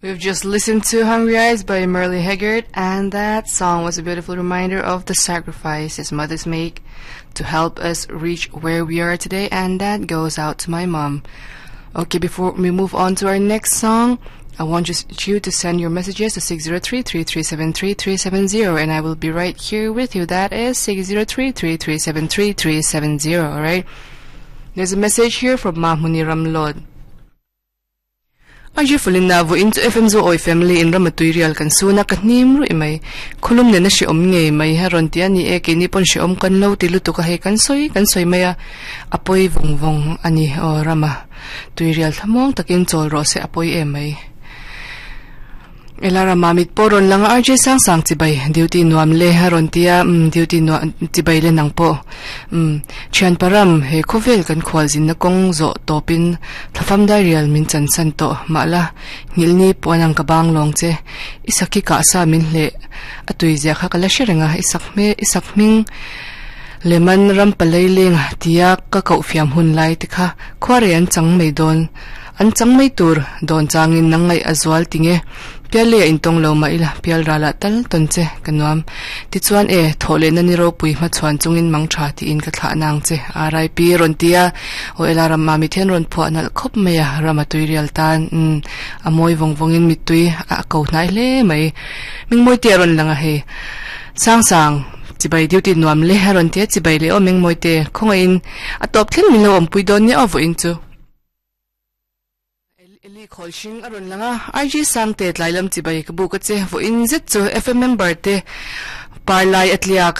We've just listened to Hungry Eyes by Merle Haggard, and that song was a beautiful reminder of the sacrifices mothers make to help us reach where we are today, and that goes out to my mom. Okay, before we move on to our next song, I want you to send your messages to 603-337-3370, and I will be right here with you. That is 603-337-3370, alright? There's a message here from Mahmuni Ramlod. RJ Fulina vawiin chu FM Zu Awi Family in rama tuirial kan sun a, ka hnim ruih mai. Khawlum nena hrehawm ngei mai a rawn ti a ni e, keini pawn hrehawm kan lo ti lutuk a, hei kan sawi kan sawi mai a, a pawi vawng vawng a ni aw rama tuirial thlamuang takin chawl rawh se a pawi em mai. Ela rama mit pawh rawn lang a, RJ sang sang chibai duty nuam le a rawn ti a, umm duty nuam chibai le nang pawh umm thian param he khawvel kan khual zinna kawng zawh tawpin thlafam dairial min chan san tawh mahla nghilhni puan ang ka bang lawng che i sakhi kah sa min hleh a tui zia kha ka la hre reng a i sak hme i sak hming leman ram palei leng tia ka koh fiam hun lai te kha khuarei an chang mai dawn. An chang mai tur dawn changin nang ngaih a zual ti nge? Pial lei a intawng lo mah ila, pial ralah tal tawn che ka nuam. Tichuan e, thawh lehna ni ropui hmachhuan chungin mang tha tiin ka thlah nang che, RIP rawn ti a, aw ela ram mami thian rawn phuah nalh khawp mai a, ram a tui rial tan, umm, a mawi vawng vawngin mittui a ko hnai hle mai. Mingmawi te a rawn lang a hei. Sang sang, chibai duty nuam le a rawn ti a, chibai leh aw Mingmawi te, khawngaihin a tawp thleng min lo awmpui dawn nia aw vawiin chu. Eli khawl hring a rawn lang a, IG Sangte tlai lam chibai ka buk a che, vawiin zet chu FM member te par lai a tliak.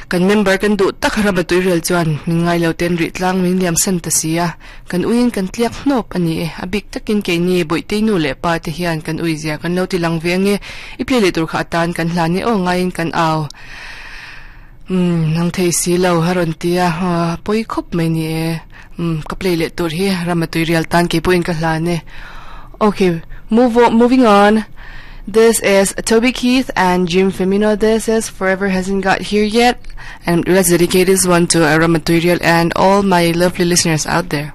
Kan member kan duh tak rama tuirial chuan min ngai lo ten rih tlang min liam san ta si a, kan uiin kan tliak hnawp a ni e. A bik takin keini Bawihtei nu leh pa te hian kan ui zia kan lo ti lang ve ange, i play leh tur kha atan kan hlan e aw ngaiin kan au. Umm nang thei si lo a rawn ti a, pawi khawp mai ni e. Umm ka play leh tur hi rama tui rial tan kei pawhin ka hlan e. Okay, move on, moving on. This is Toby Keith and Jim Femino. This is Forever Hasn't Got Here Yet. And let's dedicate this one to Rama Tuirial and all my lovely listeners out there.